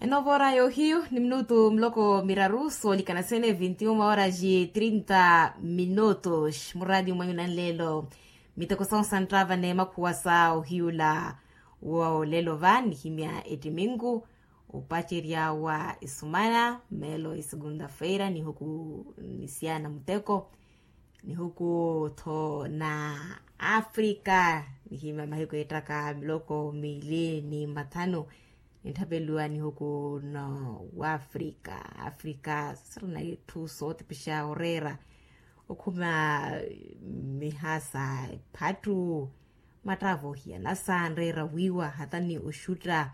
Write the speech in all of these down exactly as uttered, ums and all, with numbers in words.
Enovo ora yohiyu ni minutu miloko miraru soolikana sene vinti uma ora ji trinta minutu. Muradi umanyuna nlelo miteko sonsantava ne makhuwa sa ohiyula. Wolelo va nihimya etiminku opacerya wa isumana melo isegunda feira nihuku nisiana muteko nihuku tho na afrika. Nihimya mahiku ettaka miloko mili ni mathanu nitthapeliwa nihuku no wafrika afrika sirina itthu sootipixa oreera okhuma mihasa ephattu mattavo hiyanasa nreera wiiwa hata ni oxutta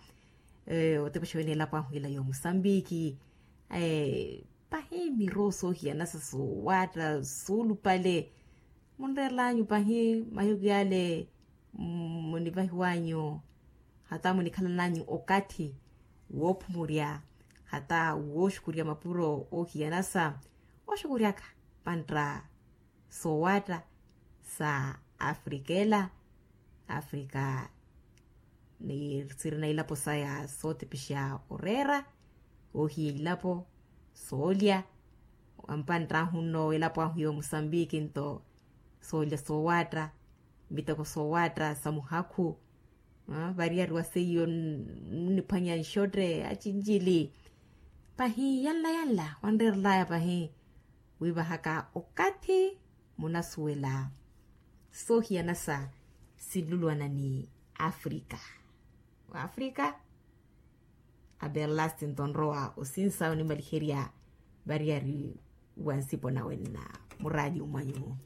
otipixa wene elapo ahu ila yo musambiki pahi miroo soohiyanasa soowatta soolupale munreerlanyu pahi mahiku yale munivahiwanyu hata munikhalananyu okathi woophumurya hata wooxukurya mapuro oohiyanasa oxukuryaka pantta soowatta sa afrika ela afrika ni sirina ilapo saya sootipixa oreera oohiya ilapo soolya ampanttahu nno elapo ahu yo musambiki nto soolya soowatta miteko soowatta sa muhakhu variyariwa seiyo nniphwanya nxotte acinjili pahi yanla yanla wanreerelaya pahi wivahaka okathi munasuwela soohiyanasa sinluluwana ni afrika wafrika aberlasti nto nrowa osinsa onimaliherya variyari wa nsipo nawenna muradi umwanyu